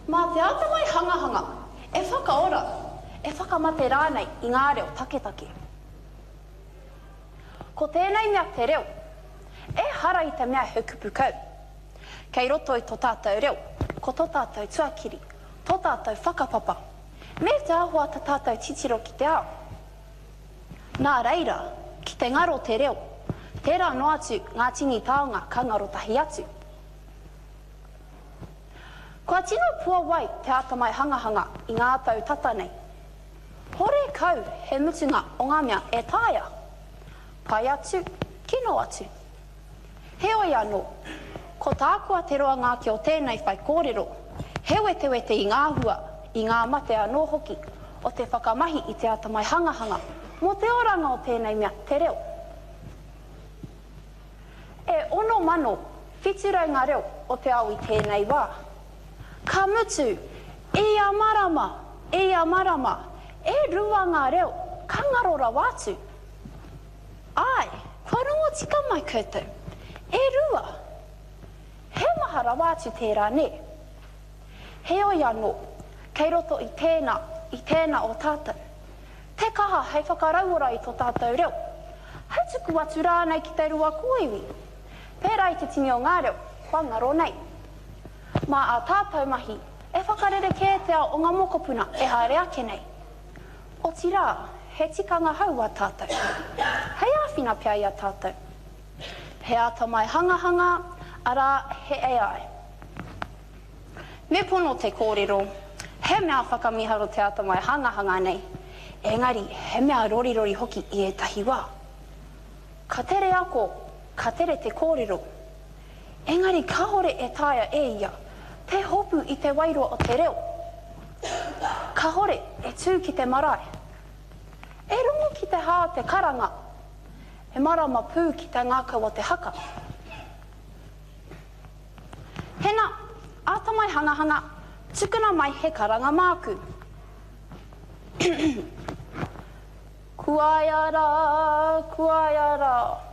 Mā te atamai hangahanga e whakaora, e whakamate rānei i ngā reo taketake. Ko tēnei mea te reo, ehara i te mea he kupu kau. Kei roto i to tātou reo, ko to tātou tuakiri, to tātou whakapapa, me te āhua ta tātou titiro ki te ao. Nā reira, ki te ngaro te reo, tērā noa atu ngā tini taonga ka ngaro tahi atu. Kua tino puawai te atamai hangahanga i ngā tau tata nei. Horekau he mutunga o ngā mea e taea. Pai atu, kino atu. Heoi anō, ko tāku a te roanga ake o tēnei whaikōrero, he wetewete i ngā hua, i ngā mate anō hoki o te whakamahi i te atamai hangahanga mō te oranga o tēnei mea te reo. E 6,700 ngā reo o te ao i tēnei wā. Ka mutu, i ia marama, i ia marama, e rua ngā reo ka ngaro rawa atu. Āe, kua rongo tika mai koutou. E rua! He maha rawa atu tērā, nē? Heoi anō, kei roto i tēnā, i tēnā o tātou, te kaha hei whakarauora i tō tātou reo, hei tuku atu rānei ki te rua kōiwi, pērā i te tini o ngā reo kua ngaro nei. Mā ā tātou mahi e whakarerekē te ao o ngā mokopuna e haere ake nei. Otirā, he tikanga hou ā tātou, hei āwhina pea i a tātou. He atamai hangahanga, arā, he AI. Me pono te kōrero, he mea whakamīharo te atamai hangahanga nei, engari he mea rorirori hoki i ētahi wā. Ka tere ako, ka tere te kōrero, engari kāore e taea e ia te hopu i te wairua o te reo. Kāore e tū ki te marae. E rongo ki te hā o te karanga, e marama pū ki te ngākau o te haka. Hena, āta mai hangahanga, tukuna mai he karanga māku. Kuaia rā, kuaia rā.